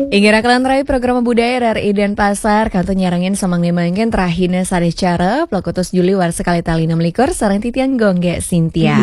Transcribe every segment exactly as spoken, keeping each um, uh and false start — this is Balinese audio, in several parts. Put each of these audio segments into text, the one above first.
Inggih raka lan rai, program budaya R R I Denpasar kantun nyarengin samangke mangkin rahina sareng acara, puluh satu Juli warsa kalih tali enam likur, sareng titiang Gung Gek Sintia.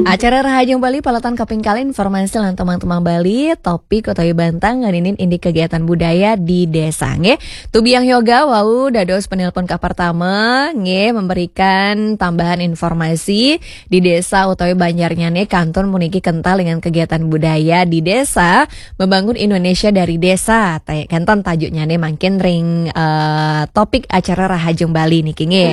Acara Rahajeng Bali paletan kaping kalih, informasi lan tembang-tembang Bali, topik utawi bantang ngeninin indik kegiatan budaya di desa, nggih. Tubiang yoga wau dados penelpon kapertama, nggih, memberikan tambahan informasi di desa utawi banjarnyane kantun puniki kental dengan kegiatan budaya di desa, membangun Indonesia dari desa. Ta-, kenten tajuknyane mangkin ring, eh, topik acara Rahajeng Bali niki, nggih.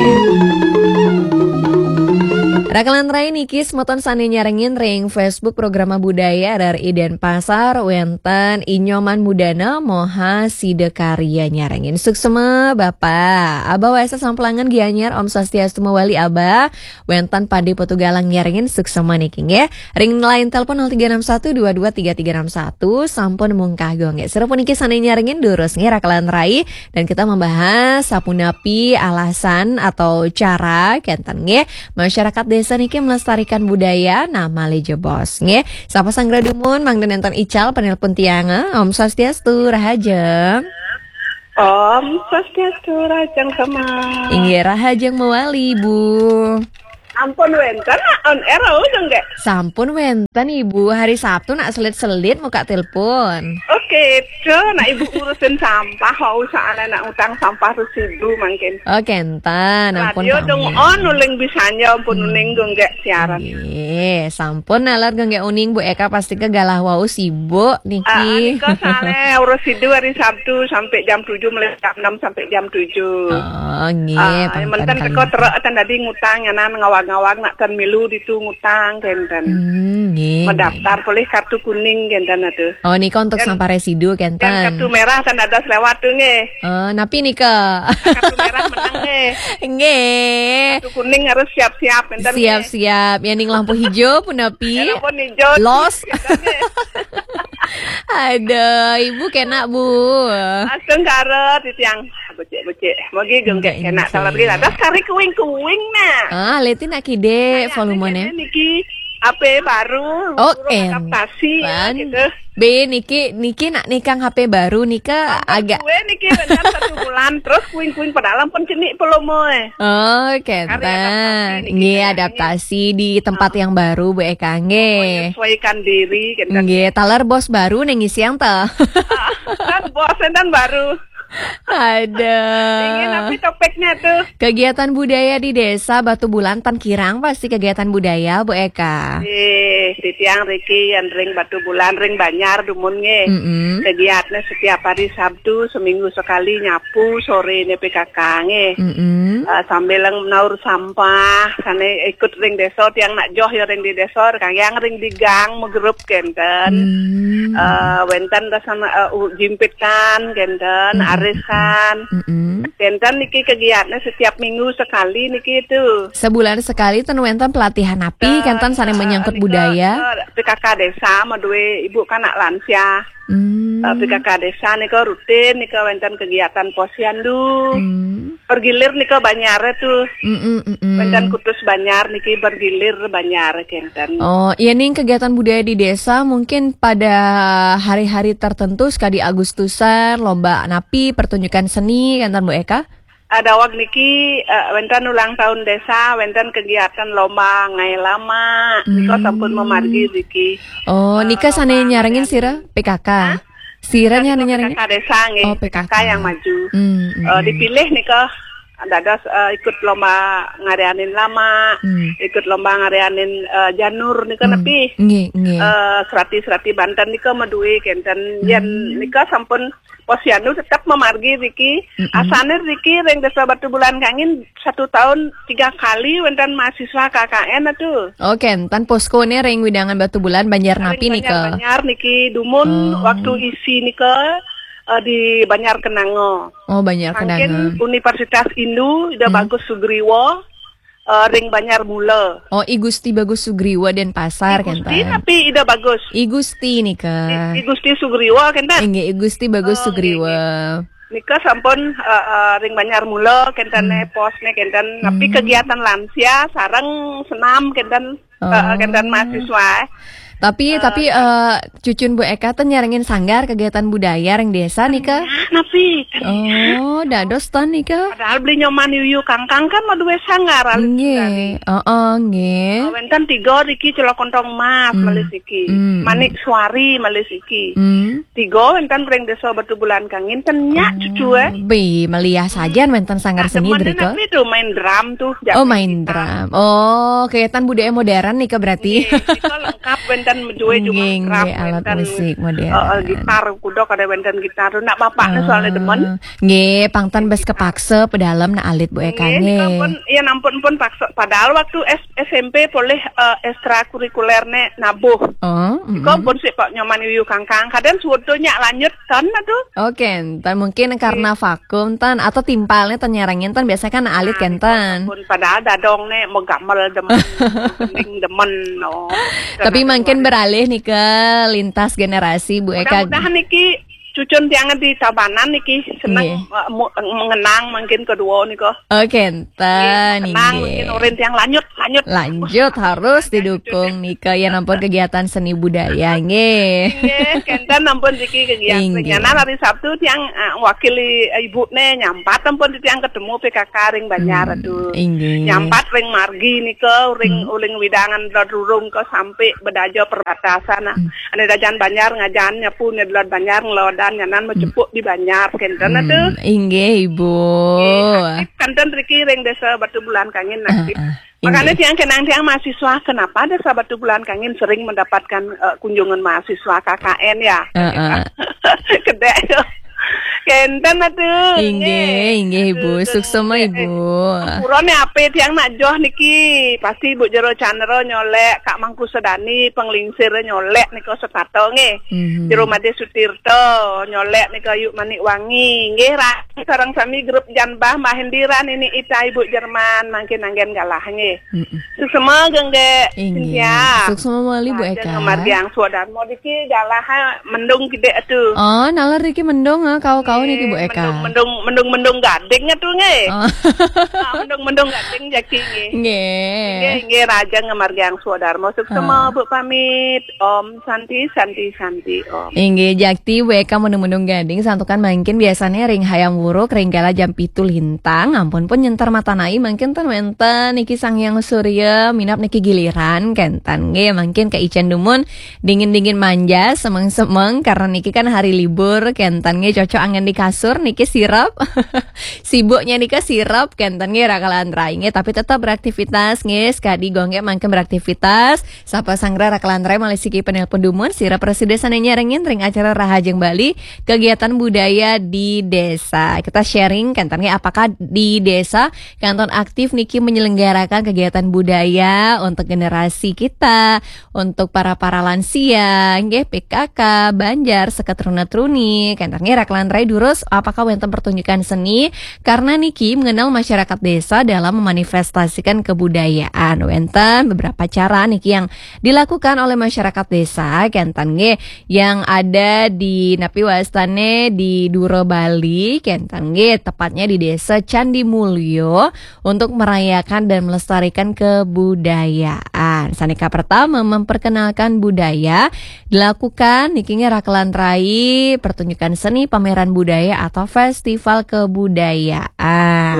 Raka lan rai, niki semeton sane nyarengin ring Facebook Programa Budaya R R I Denpasar, wenten Inyoman Mudana Moha Sida Karya nyarengin. Suksema Bapak. Abah Waisa Samplangan Gianyar, Om Swastiastu mawali Abah. Wenten Pade Potugalang nyarengin, suksema niki, nggih. Ring line telepon nol tiga enam satu dua dua tiga tiga enam satu, sampun mungkah, nggih. Sira puniki sane nyarengin durus, nggih, raka lan rai, dan kita membahas sapunapi alasan atau cara kenten, nggih, masyarakat desa niki melestarikan budaya, nah, malih jebos, nggih. Sapa sanggra dumun, mangda nenten ical penelpon tiang, eh. Om Swastiastu, Rahajeng. Om Swastiastu, Rahajeng Sama. Inggih, Rahajeng mawali, Bu. Ampun wenten, nak on air, oh, dong, nggih. Sampun wenten, Ibu. Hari Sabtu nak selit-selit muka telepon. Oke, itu nak Ibu ngurusin sampah, wau saane nak ngutang sampah residu mangkin. Oh, kenten, ampun. Radio dong sami. On, uling bisanya, ampun, hmm, uning, dong, nggih, siaran. Nggih, sampun nalar, dong, nggih, uning, Bu Eka pasti ke galah wau sibuk niki. Ah, nika sale, urus sidu hari Sabtu sampai jam tujuh, mulai jam enam sampai jam tujuh. Oh, nggih, ah, pang menten teka trek, ten dadi ngutang, nyanan ngawag-ngawag, nak ten milu ditu ngutang, kenten. Hmm, nggih, mendaftar nggih. Polih kartu kuning, kenten, aduh. Oh, nika untuk sampah residu, kenten. Kartu merah ten ada selewat tuh, nggih. Oh, napi nika? Kartu merah menang, nggih. Nggih. Kartu kuning harus siap-siap, kenten, nggih. Siap-siap. Ya, ning lampu hijau pun napi? Ya, lampu hijau. Los. Kenten, nggih. Aduh, Ibu kena, Bu. Astungkara, titiang. Becik-becik. Mogi, nggih, kena. Salah lagi. Ada kari kuing-kuing, nah. Ah, leti nak kide volumene. Niki H P baru, oh, adaptasi, gitu. Be, niki, niki nak nikang H P baru nika. Ampun agak kue niki, bentar satu bulan, terus kuing-kuing padahal pun cenik volume. Oh, kenten. Nggih, adaptasi di tempat yang baru, Bu Eka, nggih. Menyesuaikan diri, kenten. Nggih, taler bos baru ning isiang ta. Ah, kan bos enten baru. Ada. Inggih, napi topiknya tuh? Kegiatan budaya di desa Batubulan, ten kirang pasti kegiatan budaya, Bu Eka. Eh, titiang riki, yen ring Batubulan, ring Banjar, dumun, nggih. Mm-mm. Kegiatannya setiap hari Sabtu, seminggu sekali nyapu, sore ini P K K, nggih. Mm-mm. Eh, sambil naur sampah, sane ikut ring desa, tiang nak joh ya ring di desa, kang yang ring di gang, megrup, kenten. Hmm. Eh, wenten rasana, eh, u-, jimpitan, kenten, mm-mm, arisan. Mm-mm. Kenten niki kegiatannya setiap minggu sekali niki itu. Sebulan sekali ten wenten pelatihan napi, eh, kenten sane menyangkut, eh, budaya. Eh, P K K desa, madue ibu kanak lansia. Hmm. Eh, P K K desa nika rutin, nika wenten kegiatan posyandu. Hmm. Bergilir nika Banjar tuh. Mm-mm, mm-mm. Wenten kutus Banjar niki bergilir Banjar, kenten. Oh, ya, ning kegiatan budaya di desa mungkin pada hari-hari tertentu, sekali Agustusan, lomba napi, pertunjukan seni, kenten, Bu Eka? Ada wak niki, eh, wenten ulang tahun desa, wenten kegiatan lomba ngae lama, nika, hmm, sampun memargi niki. Oh, eh, nika sane lomba nyarengin ngae sira P K K? Hah? Sira nyarengin? P K K desa, nggih. Oh, P K K. P K K yang maju. Hmm, hmm, eh, hmm. Dipilih nika dados, eh, ikut lomba ngareanin lama, hmm, ikut lomba ngareanin, eh, janur nika, hmm, nepi. Nggih, nggih. Eh, serati-serati Banten nika madue, kenten. Yen, hmm, nika sampun posyandu tetep memargi riki. Mm-mm. Asane riki ring Desa Batubulan kangin satu tahun tiga kali wenten mahasiswa K K N atuh. Oh, kenten poskone ring wewidangan Batubulan, Banjar napi nika? Ring Banjar, Banjar niki dumun. Oh. Waktu isi nika, eh, di Banjar Kenanga. Oh, Banjar Kenanga. Mangkin Universitas Indu, Ida, hmm, Bagus Sugriwa, eh, ring Banjar Mula. Oh, I Gusti Bagus Sugriwa Denpasar, I Gusti kenten. Tapi Ida Bagus. I Gusti nika. I, I Gusti Sugriwa, kenten? Inggih, I Gusti Bagus, oh, Sugriwa. Inggih. Nika sampun, eh, eh, ring Banjar Mula, kenten, hmm, ne, pos ne, kenten. Tapi, hmm, kegiatan lansia sareng senam, kenten, eh, eh, kenten, oh, mahasiswa. Tapi tapi eh, cucun Bu Eka ten nyarengin sanggar kegiatan budaya ring desa nika. Nah, napi? Oh, dados ten nika. Padahal beli Nyoman Yuyu Kangkang kan mau duwe sanggar alit dari. Nggih. Heeh, nggih. Wenten tiga riki Celok Kontong Mas Hmm. malih siki. Hmm. Manik Suari malih siki. Hmm. Tiga wenten ring Desa Batubulan Kangin ten nyak cucu eh. Bi, meliah saja wenten sanggar seni Demen drika. Napi tuh main drum tuh. Oh, main drum. Oh, kegiatan budaya modern nika berarti. Kita lengkap wenten duwe cuma Nggih, drum, nggih, alat wenten, musik modern. eh, eh, gitar kuda kada wenten gitar tuh nak bapaknya soalnya demen. Ah, nggih, pangtan bes kepaksa pedalem na alit Bu Eka Nggih, nggih. nika pun ya nampun pun paksa padahal waktu S- SMP polih eh, ekstrakurikuler ne nabuh. Oh, Kok mm-mm. pun sik kok Nyoman Yuyu Kangkang kadang suwedanya lanjut kan aduh. Oke, entar mungkin karena vakum tan atau timpalnya ten nyarengin tan biasanya kan alit kenten. Pun padahal dadong ne megamel demen, gending demen no. Tapi makin beralih nih ke lintas generasi Bu Eka. Mudah-mudahan niki cucun tiang di Tabanan niki seneng Nggih. eh, mu- mengenang mungkin kedua nika. Oke, enten Tenang mungkin nggih. Urin tiang lanjut lanjut. Lanjut harus didukung nika ya nampun kegiatan seni budaya nggih. Nggih, kenten nampun siki kegiatan. Inggih. Nyana hari Sabtu tiang eh, wakili ibu ne nyampat nampun tiang ketemu P K K ring Banjar Hmm, aduh. inggih. Nyampat ring margi nika ring uling widangan Lodurung ke sampai bedaja perbatasan. Nah, ane dajan Banjar ngajan nyapu ne delod Banjar ngelodan nyanan mecepuk di Banjar kenten aduh. Hmm, inggih Ibu. Aktif kenten riki ring Desa Batubulan Kangin aktif. Ah, ah. Makanya Inggih. tiang kenang tiang mahasiswa kenapa Desa Batubulan Kangin sering mendapatkan eh, kunjungan mahasiswa K K N ya. Ah, ah. Kedek. Kenten aduh. Inggih, inggih Ibu. Aduh, Suksema eh, Ibu. Purane ape tiang nak joh niki pasti Bu Jero Chandra nyolek Kak Mangku Sedani penglingsir nyolek nika setata nggih. Mhm. Jero Made Sutirta nyolek nika Yuk Manik Wangi nggih ra sareng sami grup Janbah Mbah Hendira Nini Ita Ibu Jerman mangkin anggen galah nggih. Mm-mm. Suksema gengge Inggih. Cynthia. Suksema malih Bu Eka. Margiang Swadarma diki galah mendung gede atu. Oh, nalar riki mendung eh, kau-kau niki Bu Eka. Mendung mendung mendung mendung gading atu nggih. Oh. Ah, mendung mendung gading jaki nggih. Nggih. Nggih, nggih raja ngemargiang swadarma suksema Ah. Bu pamit. Om Santi Santi Santi Om. Inggih, jakti Bu Eka mendung-mendung gading santukan mangkin biasanya ring hayam wuruk ring kala jam pitu lintang, ampun pun nyentar mata nai mangkin ten wenten niki Sang Hyang Surya minap niki giliran kenten nggih mangkin ke icen dumun dingin-dingin manja semeng-semeng karena niki kan hari libur kenten nggih cocok anggen di kasur niki sirep. Sibuknya nika sirep kenten nggih rakalan rai nggih tapi tetap beraktivitas nggih sekadi gongge mangkin beraktivitas Sapa sanggra rakalan rai malih siki penelpon dumun sira prasida sane nyarengin ring acara Rahajeng Bali kegiatan budaya di desa. Kita sharing kenten nggih apakah di desa kenten aktif niki menyelenggarakan kegiatan budaya untuk generasi kita, untuk para-para lansia, nggih P K K, Banjar, seketruna-truni. Kenten nggih rakalan rai durus apakah wenten pertunjukan seni karena niki mengenal masyarakat desa dalam memanifestasikan kebudayaan. Wenten beberapa cara niki yang dilakukan oleh masyarakat desa kenten nggih yang ada di napi wastane di Dura Bali kenten nggih tepatnya di Desa Candi Mulyo untuk merayakan dan melestarikan kebudayaan. Saneka pertama memperkenalkan budaya dilakukan niki nggih rakalan rai pertunjukan seni pameran budaya atau festival kebudayaan.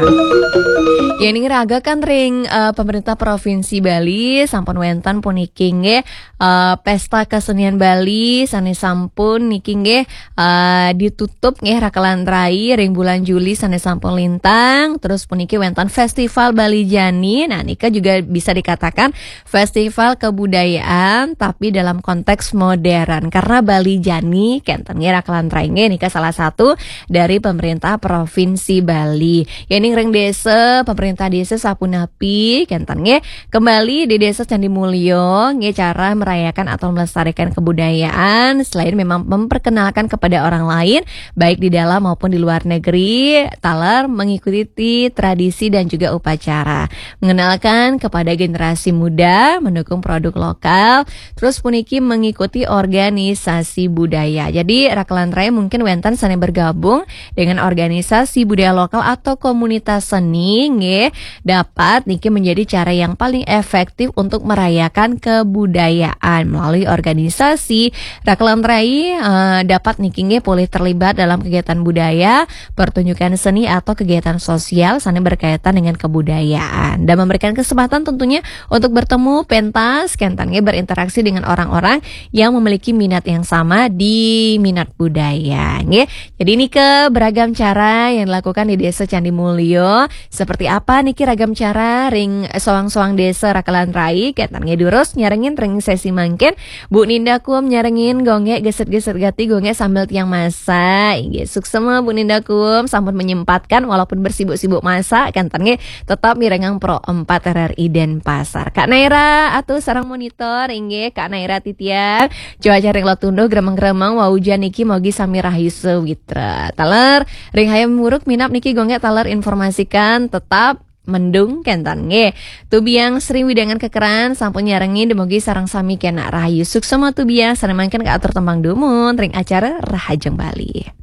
Ya ini raga kan ring eh, pemerintah provinsi Bali sampun wenten puniki nggih eh, pesta kesenian Bali sane sampun niki nggih eh, ditutup nggih rakalan rai ring bulan Juli sane sampun lintang terus puniki wenten festival Bali Jani. Nah nika juga bisa dikatakan festival kebudayaan tapi dalam konteks modern karena Bali Jani kenten nggih rakalan rai nggih nika salah satu dari pemerintah provinsi Bali. Ya ning ring desa pemerintah desa sapunapi kenten nggih kembali di desa Candi Mulyo nggih cara merayakan atau melestarikan kebudayaan selain memang memperkenalkan kepada orang lain baik di dalam maupun di luar negeri. negeri, taler mengikuti tradisi dan juga upacara. Mengenalkan kepada generasi muda, mendukung produk lokal, terus puniki mengikuti organisasi budaya. Jadi, rakelan rai mungkin wénten sané bergabung dengan organisasi budaya lokal atau komunitas seni, nggih, dapat niki menjadi cara yang paling efektif untuk merayakan kebudayaan melalui organisasi. Rakelan rai, eh, dapat niki nggih polih terlibat dalam kegiatan budaya, pertunjukan seni atau kegiatan sosial sané berkaitan dengan kebudayaan dan memberikan kesempatan tentunya untuk bertemu, pentas, kénten nggih berinteraksi dengan orang-orang yang memiliki minat yang sama di minat budaya, nggih. Jadi niki beragam cara yang dilakukan di Desa Candi Mulyo. Seperti apa niki ragam cara ring soang-soang desa rakelan rai? Kénten nggih durus nyarengin ring sesi mangkin. Bu Ninda Kum nyarengin gonggé geset-geset gati gonggé sambil tiang masak. Inggih, suksema Bu Ninda Kum sampun menyempatkan walaupun bersibuk-sibuk masak, kénten nggih tetap mirengang Pro empat R R I Denpasar. Kak Naira atur sareng monitor, inggih Kak Naira titiang. Cuaca ring Lotundo gremeng-gremeng, wau ujan niki mogi sami rahayu sawitra. Taler ring Hayam Wuruk minab niki gonggé taler informasikan tetap mendung kénten nggih. Tubiang Sri Widangan Kekeran sampun nyarengin, dumugi sareng sami kénak rahayu. Suksema tubiang, sané mangkin kaatur tembang dumun ring acara Rahajeng Bali.